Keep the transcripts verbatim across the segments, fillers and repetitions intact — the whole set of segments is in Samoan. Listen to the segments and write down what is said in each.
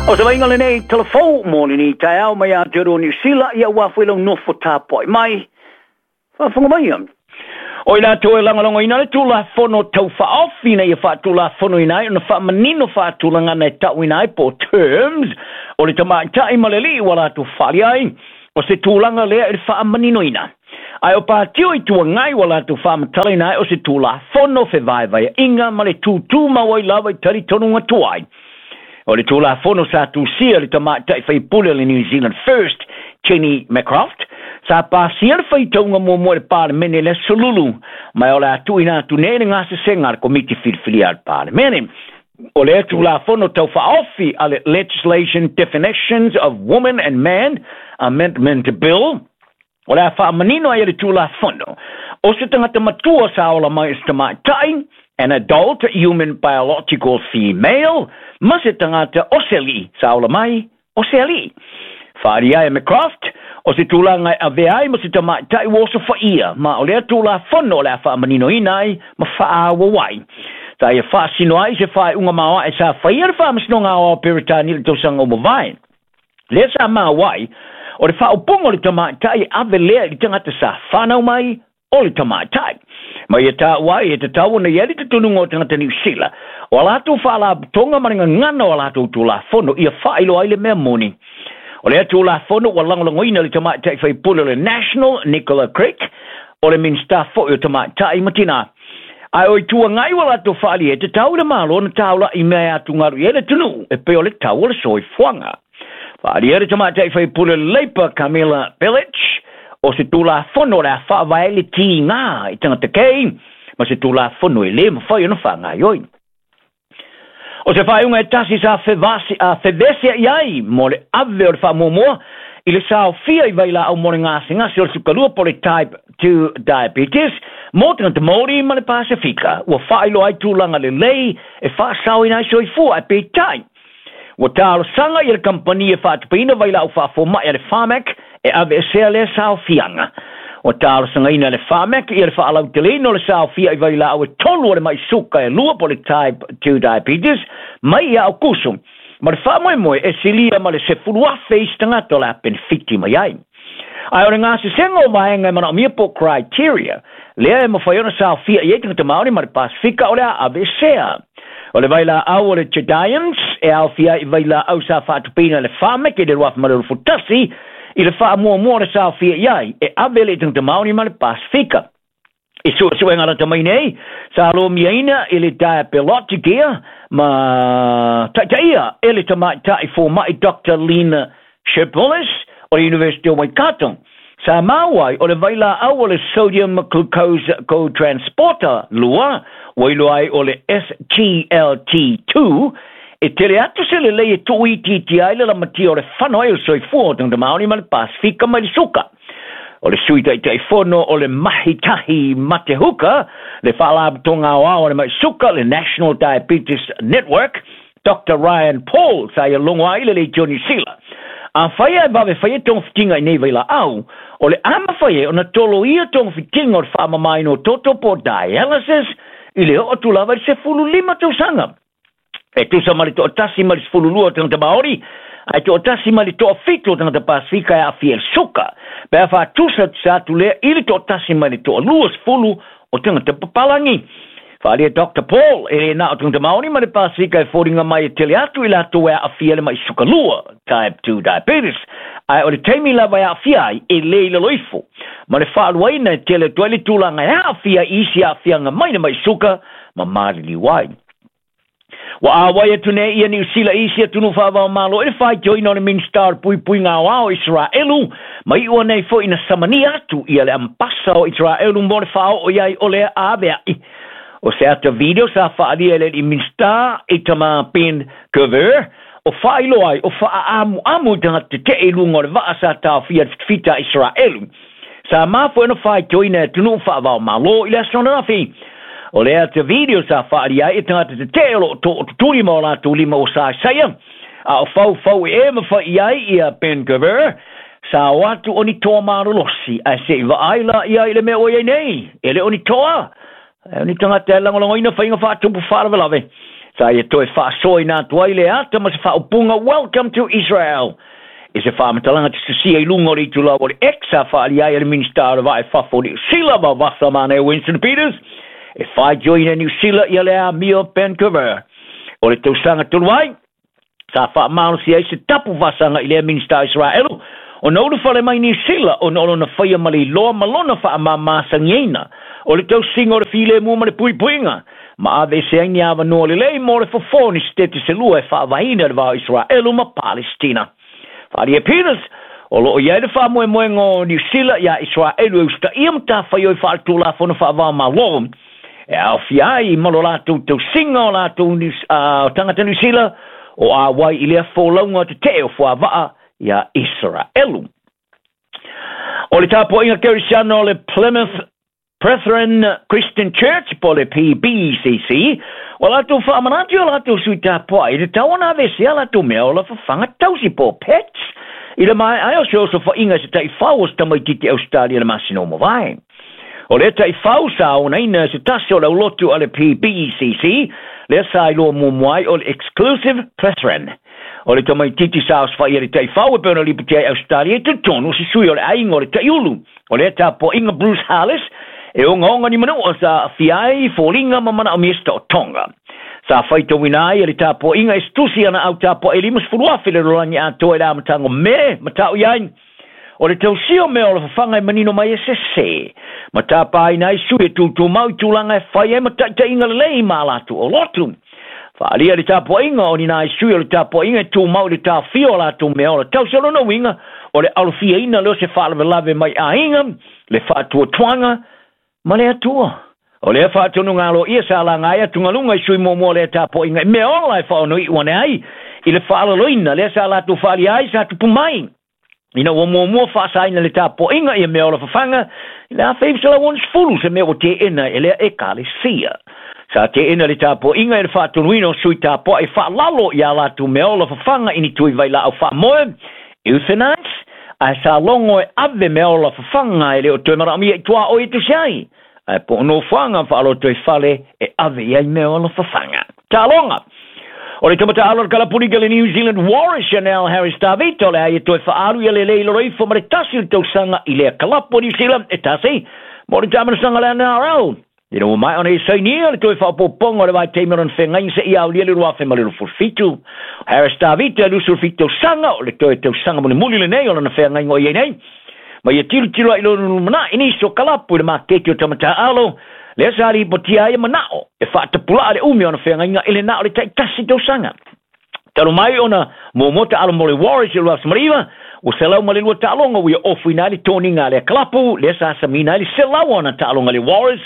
O se vaaiga lenei telefou mo lenei taeao mai Aotearoa Niu Sila, ia ua foi lau nofo tapuai mai. Faafofoga mai. O i latou e lagolagoina le Tulafono Tau Faaofi ina ia faatulafonoina ai ona faamanino faatulagana e tauina ai po o terms o le tamaitai ma le alii ua latou faali ai, o se tulaga lea i le faamaninoina. Ae o patio i tuagai ua latou faamatalaina ai o se Tulafono fevaevaeaiga ma le tutumau ai lava i talitonuga tuai. O le Tulafono sa tusia le tamaitai faipule o le New Zealand First, Jenny McCroft, sa pasia le faitauga muamua i le Palemene le aso Lulu, ma o le a tuuina atu nei le gasesega a le Komiti Filifilia a le Palemene. O lea Tulafono Tau Faaofi a le Legislation Definitions of Woman and Man Amendment Bill, o le a faamanino ai e le Tulafono o se tagata matua sa ola mai i se tamaitai, an adult human biological female, ma se tagata o se alii sa ola mai o se alii. Faaalia ai e McCroft, o se tulaga e avea ai ma se tamaitai ua osofaia, ma o lea Tulafono o le a faamaninoina ai ma faaauau ai. Sa ia faasino ai se faaiuga maoae sa faia le Faamasinoga Aoao Peretani i le tausaga ua mavae. Lea sa maua ai, o le faaupuga o le tamaitai e ave lea i le tagata sa fanau mai o le tamaitai. Ma ia taua ai e tatau ona i ai le talitonuga o tagata Niu Sila, o a latou faalapotopotoga ma le gagana o a latou Tulafono ia faailoa ai le mea moni. O lea Tulafono ua lagolagoina le tamaitai faipule o le National, Nicola Craik, o le Minisita foi o Tamaitai ma Tinā. Ae o Itu Agai ua latou faaalia e tatau i le Malo ona taula'i mea e atugalu i ai le atunuu e pei o le tau o le soifuaga. Faaalia le tamaitai faipule o le Labour, Camilla Belich, o se Tulafono o le a faavae ai le tiga i tagata kei ma se Tulafono e lē mafai ona faagaoioi. O se faaiuga e tasi sa fevasi, a fevesea'i ai mo le ave o le faamuamua i le saofia i vailaau mo le gasegase o le sukalua po o le Type two diabetes mo tagata Māori ma le Pasefika ua faailoa ai tulaga lelei e faasaoina ai soifua, ae peitai ua talosaga ia le kamupani e faatupeina vailaau faafoma'i a le Pharmac e aveesea lea saofiaga. Ua talosagaina e le Pharmac ia le faalauteleina o le saofia i vailaau e tolu o le mai suka e lua po o le Type two diabetes mai ia Aukuso, ma le faamoemoe e silia ma le sefulu afe isi tagata o le a penefiti mai ai. Ae o le gasesega o vaega e manaomia po o criteria lea e mafai ona saofia i ai tagata Māori ma le Pasefika o le a aveesea. O le vailaau o le Jardiance e aofia ai i vailaau sa faatupeina e le Pharmac i le lua afe ma le luasefulu tasi i le faamuamua o le saofia i ai e ave le tagata Māori ma le Pasefika. I suesuega lata mai nei, sa lomiaina i le Diabelogic ma taitaia e le tamaitai foma'i Doctor Lena Sherbolis o le University o Waikato. Sa maua ai o le vailaau o le sodium glucose cotransporter lua, ua iloa ai o le S G L T two, e tele atu se lelei e tuuitiitia ai le lamatia o le fano ai o le soifua o tagata Māori ma le Pasefika mai le suka. O le Sui Taitaifono o le Mahitahi Matehuka, le Faalapotopotoga Aoao o le Mai Suka, le National Diabetes Network, Doctor Ryan Paul, sa ia logo ai le Leitio Niu Sila. Afai e vave faia togafitiga i nei vailaau, o le a mafai ai ona toloia togafitiga o le faamamaina o toto po o dialysis i le oo atu lava i le sefulu lima tausaga. E tusa ma le toatasi ma le sefulu lua o tagata Maori, ae toatasi ma le toafitu o tagata Pasefika e aafia i le suka. Pe a faatusa tusa atu lea i le toatasi ma le toalua sefulu o tagata papalagi. Faaalia Doctor Paul, e le na o tagata Maori ma le Pasefika e foliga mai e tele atu i latou e aafia le mai suka lua, type two diabetes. Ae o le taimi lava e aafia ai, e le i lalo ifo ma le faaluaina e tele atu ai le tulaga e aafia i isi aafiaga mai le mai suka ma maliliu ai. Ua auai atu nei ia Niu Sila i isi atunuu faava-o-Malo i le faitioina o le Minisita o le Puipuiga Aoao o Iseraelu, ma iua nei foi na samania atu ia le Ambasa o Iseraelu mo le faaoo i ai o lea avea'i. O se ata video sa faalia e le alii Minisita Itamar Ben Gvir, o faailoa ai o faaamuamu i tagata tetee i luga o le vaa sa taofia le fitafita a Iseraelu. Sa mafua ona faitioina e atunuu faava-o-Malo i le aso ananafi. O le ata video sa faalia ai e tagata tetee o loo tootutuli ma o latou lima ua saesaia, a o faufau e e ma fai ai ia Ben Gvir, sa o atu o ni toa malolosi, ae se'i vaai la ia i le mea ua iai nei, e le o ni toa, e o ni tagata e lagolagoina faiga faatupu faalavelave. Sa ia toe faasoaina atu ai le ata ma se faaupuga "Welcome to Israel" i se faamatalaga tusitusia i luga o le itulau o le X sa faaalia ai e le Minisita o le Vaa i Fafo o Niu Sila vavasa manaia Winston Peters e faitioina e Niu Sila ia le amio Ben Gvir. O le tausaga talu ai sa faamalosi ai se tapu vasaga i lea Minisita o Isaraelu ona ulufale mai Niu Sila ona o lona faia ma le iloa ma lona faamamasagiaina o le tausiga o le filemu ma le puipuiga ma aveese ai ni avanoa lelei mo le fofo o ni setete se lua e faavaeina le va o Isaraelu ma Palestina. Faaalia e Peters o loo i ai le faamoemoega o Niu Sila iā Isaraelu e usitaia matafaioi faaletulafono faava-o-Malo e aofia ai ma lo latou tausiga o latou tagata Niu Sila o auai i lea folauga tetee o fuavaa iā Isaraelu. O le tapuaiga kerisiano o le Plymouth Brethren Christian Church po o le P B C C ua latou faamanatu i o latou sui tapuai i le tatau ona aveesea latou mea ola fafaga tausi po o pets i le maea ai o se osofaiga i se taifau o se tamaitiiti Ausetalia i le masina ua mavae. O lea taifau sa onaina se tasi o le aulotu a le P B C C lea sa iloa muamua ai o le Exclusive Brethren. O le tamaitiiti sa osofaia i le taifau e pei ona lipotia ai Ausetalia i totonu o se sui o le aiga o le taiulu. O lea tapuaiga Bruce Harless e ogaoga ni manua sa aafia ai foliga ma manaomia se taotoga. Sa faitauina ai e le tapuaiga e se tusi ana au tapuai e limasefulu afe le lalolagi atoa i le amataga o Me ma tau i ai o le tausia o mea o le fafaga e manino mai e sese ma tapaina ai sui e tutumau i tulaga e fai ai ma taitaiga lelei ma a latou olotu. Faaalia le tapuaiga o ni nai sui o le tapuaiga e tumau i le taofia o latou mea ola tausi o lona uiga o le alofiaina lea o se faalavelave mai aiga, le faatuatuaga ma le Atua. O lea faatonuga aloaia sa laga ai atugaluga i sui muamua o lea tapuaiga i mea ola e faaonoiu ane ai i le faalaloina lea sa latou faaalia ai sa tupu mai ina ua muamua faasaina le tapuaiga ia mea ola fafaga i le afe iva selau onosefulu se mea ua teena e lea ekalesia. Sa teena le tapuaiga i le faatonuina o sui tapuai faalalo iā latou mea ola fafaga i ni tui vailaau faamoe euthanize ae sa logo e ave mea ola fafaga e le o toe manaomia i tuaoi e tusi ai ae po o nofoaga faaloto i fale e ave i ai mea ola fafaga. Taaloga. O le tamata'alo o le kalapulika le New Zealand Warriors Chanel Harris Tavita o le a ia toe faaalu ia lelei lolo ifo ma le tasi o le tausaga i lea kalapu o New Zealand e tasi mo le taamanasaga le N R L. Ina ua maea ona ia sainia le toe faaopoopoga o le vaitaimi o lona feagaiga seia aulia le lua afe ma le luasefulu fitu. Harris Tavita e luasefulu fitu tausaga o le toe tausaga mulimuli lenei o lona feagaiga o i ai nei. Ma ia tilotilo ai lona lumanai nisi o kalapu i le maketi o tamata'alo lea sa lipotia ai e manao e faatapulaa le umi o ona feagaiga i le na o le taitasi tausaga. Talu mai ona muamua taalo mo le Warriors i le lua afe ma le iva, ua selau ma le lua taaloga ua ia ofuina ai le toniga a lea kalapu lea sa samina ai le selau o ona taaloga le Warriors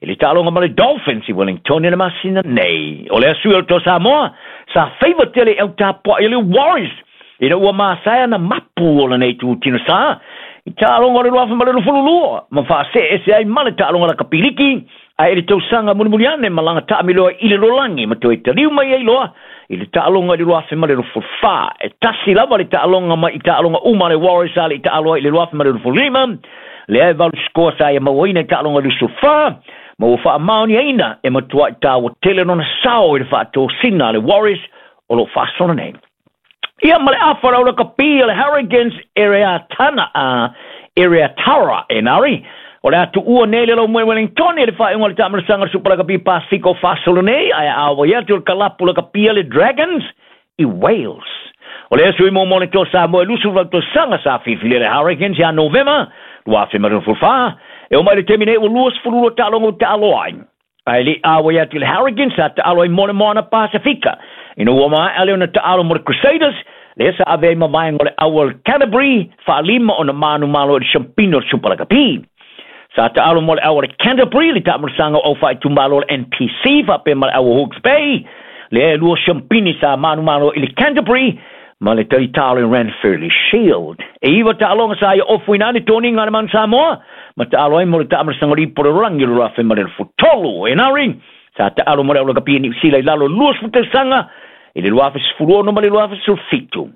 i le taaloga ma le Dolphins i Wellington i le masina nei. O lea sui o le Toa Samoa sa faiva tele i au tapuai o le Warriors ina ua masae ana mapu o lenei tutino sa i taaloga o le lua afe ma le luasefulu lua ma faaseese ai ma le taaloga lakapiliki ae i le tausaga mulimuli ane malaga taamiloa i le lalolagi ma toe taliu mai ai loa i le taaloga i le lua afe ma le luasefulu fa. E tasi lava le taaloga mai i taaloga uma a le Warriors sa le i taalo ai i le lua afe ma le luasefulu lima lea e valu sikoa sa ia mauaina i taaloga i le luasefulu fa ma ua faamaoniaina e matuai taua tele lona sao i le faatosina a le Warriors o loo faasolo nei. Ia ma le afa o le lakapi o le Hurricanes Ereatana a Ereatara Enari o le atuua nei le laumue Wellington i le faaiuga o le taamanasaga o le Super Lakapi Pasifika o faasolo nei ae auai atu o le kalapu lakapi a le Dragons i Wales. O lea sui muamua o le Toa Samoa e luasefulu valu tausaga sa filifilia le Hurricanes ia Novema lua afe ma le luasefulu fa e oo mai le taimi nei ua luasefulu lua taaloga ua taaloa ai. Ae le i auai atu i le Hurricanes sa taalo ai mo le Moana Pasifika. Ina ua maea lea ona taalo mo le Crusaders, lea sa ave ai ma vaega o le au o le Canterbury, faalima ona manumalo i le siampina o le Super Lakapi. Sa taalo mo le au o le Canterbury, le taamanasaga o au faaitumalo o le N P C, faapea ma le au o Hawke's Bay, lea e lua siampini sa manumalo i le Canterbury, ma le talitalo i Ranfurly Shield. E iva taaloga sa ia ofuina ai le toniga a le Manu Samoa, ma taalo ai mo le taamanasaga o le ipu o le lalolagi o le lua afe ma le luasefulu tolu. Enari, sa taalo mo le au lakapi e Niu Sila i lalo luasefulu tausaga i le lua afe sefulu ono ma le lua afe sefulu fitu.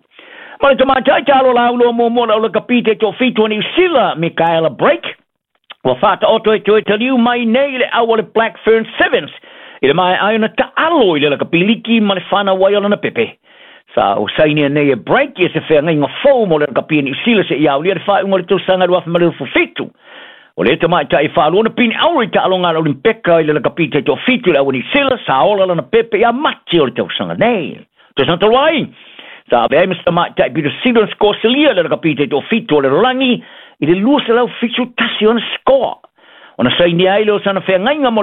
Ma le tamaitai taalo lauloa muamua le au lakapi te toafitu a Niu Sila, Michaela Brake, ua faataoto e toe taliu mai nei i le au o le Black Fern Sevens I le maea ai ona taalo i le lakapi liki ma le fanau ai o lana pepe. Sa o sainia nei e Break ia se feagaiga fou mo le lakapi Niu Sila seia aulia le faaiuga o le tausaga dua afe ma le fitu. O le tamaitai faalua na pine auro i taaloga a le Olimpeka i le lakapi taitoafitu i le au a Niu Sila, sa ola lana pepe ia Mati o le tausaga nei. Tausaga talu ai, sa avea ai ma se tamaitai pito sili ona sikoa silia i le lakapi taitoafitu o le lalolagi i le dua selau fitu tasi ona sikoa. Ona sainia ai lea o sana feagaiga mo le